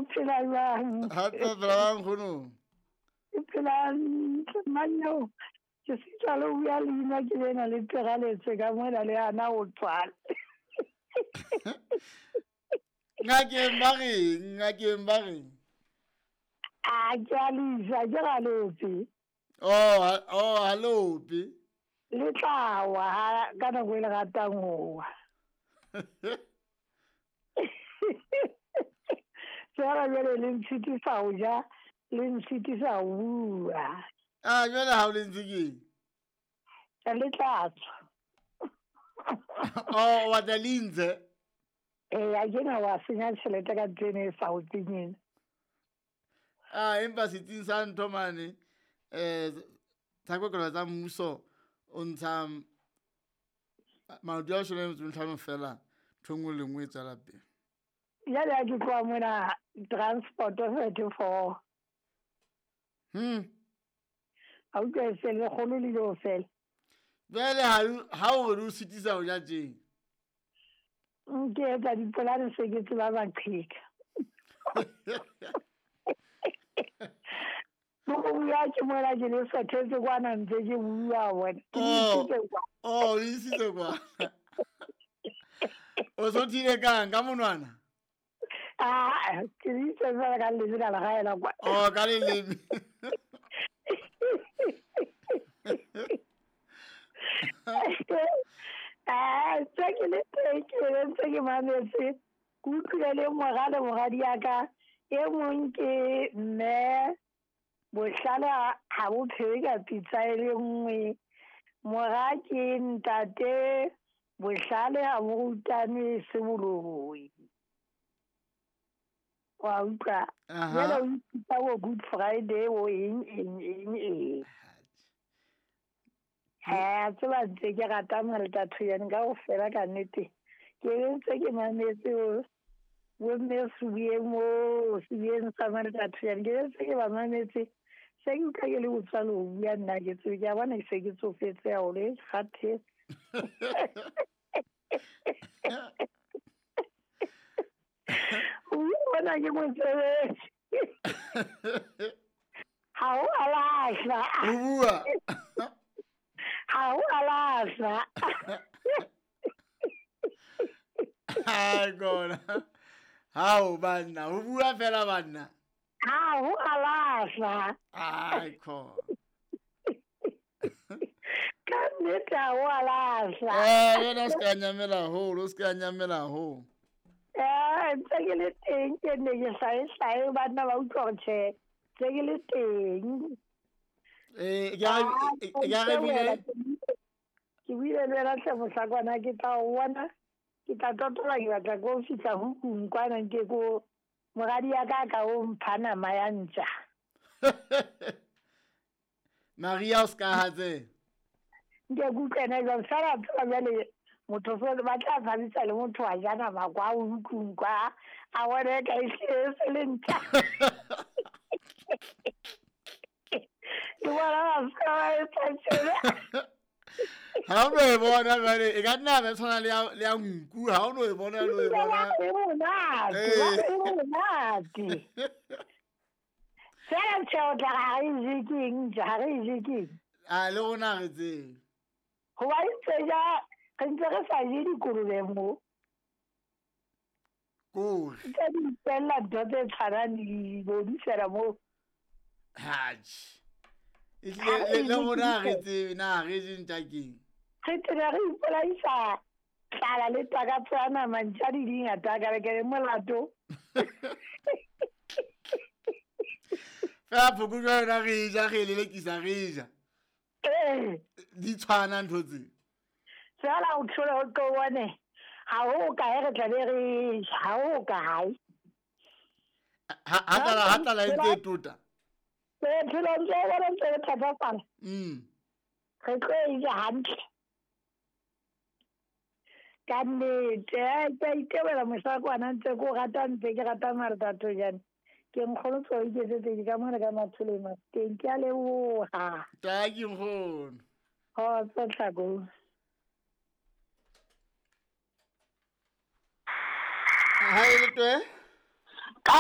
O phela jwang? Hantle phela jwang nkgono? Ke phela hantle manyeo. Ke sitwa le ho bua leina ke lena le teraletse ka mona le hana ho tswala. Ngakeng ba reng? Ngakeng ba reng? A ke a lisa ke ga lope. Oh, ha lope. Le tla wa ka nako e le ratang ho wa. Fela jwale le ntshitisa ho ja, le ntshitisa ho bua. Ah, jwale ha o le ntse keng? Le tla tswa. Oh, wa tla le ntse? Ee, a ke na wa senya tjhelete ka ntho ena e sa o tsenyeng. Ah, empa setsing sa ntho mane, tsa kokelo tsa mmuso o ntsha maoto a 15 fela, ntho nngwe le nngwe e tswela pele. Jwale ha ke tloha mona transport 34. A utlwa e se lekgolo le ile ho fela. Jwale ha o re o sitisa ho ja tjeng. Ke etsa dipolane se ke tseba maqheka. Ho bua ke mola ke le sethetse kwana ntse ke bua bona. Ke isitse kwa. Oh, o isitse kwa. O so thile kang ka monwana? Ah, ke itse fela ka leleme ka le gaela kwa. Oh, ka leleme. Ah, tse ke le teng ke le ntse ke mametse. Ke utlwile le mora le moradi ya ka. E mong ke mme bohlale ha bo phewe ka pitsa e le nngwe. Mora ke ntate bohlale ha bo rutane se boloi. Wa utlwa? Jwale o ipitsa bo Good Friday o eng eng eng eng. Ha tseba ntse ke rata Malta Thoyane kaofela ka nnete. Ke ntse ke mametse bo mme Sebuyeng mo Sebuyeng sa Malta Thoyane. Ke ntse ke ba mametse. Se ke utlwa ke le botswa le ho bua nna ke tsebe ke a bona ke se ke tsofetse haholo e kgathetse. O bona ke mosebetsi. Ha o a lahla. O bua. Ha o a lahla. Hai kona. Hao banna, o bua fela banna. Ha o a lahla. Ai khona. Ka nnete ha o a lahla. Wena o ska nyamela haholo, o ska nyamela haholo. Ntse ke le teng ke ne ke hlae banna ba utlwa hore tjhe, ntse ke le teng. Ke buile le wena hle mohlakwana ke tla o bona, ke tla totola ke batla ko fihla hukung kwana nke ko moradi ya ka ka o mpha nama ya ntja. Maria o ska hatse. Nke ke utlwe ena jwang fela tseba jwale motho so ba tla tshabisa le motho wa ja nama kwa o ntlong kwa a bone ka e se le ntja. Ke bona ba ska ba e tshela. Ha o no e bona jwale e ka nna be tshwana le ya nku ha o no e bona le e bona. E monate, e monate. Fela tjhe o tla ha re je keng, ha re je keng. A le rona re tsebe. Hoba ntse ja re ntse re sa je dikolobe mo. Kore. Ntse di ipella ntho tse tshwanang le di fela mo. Hatjhe. Ehlile le rona re tsebe na re je ntja keng. Re tena re ipolaisa tlala le takatso ya nama ntja di dingata ka re ke le molato. Fela phokojwe yona re ja re lelekisa re ja. Di tshwana ntho tse. Fela o tlhole o tlo bone ha ho kae re tla be re ha ho kae. Ha tlala e ntse e tota. Phelo ntse e bona ntse e thatafala. Re tlo e ja hantle. Ka nnete, ke a itebela mohlakwana ntse ke o rata ntse ke rata Martha Thoyane. Ke nkgono tso iketsetse ke ka mona ka Mathole Mafikeng. Ke a leboha. Tanki nkgono. Kgotso Tlhako. Ha e le twe? Ka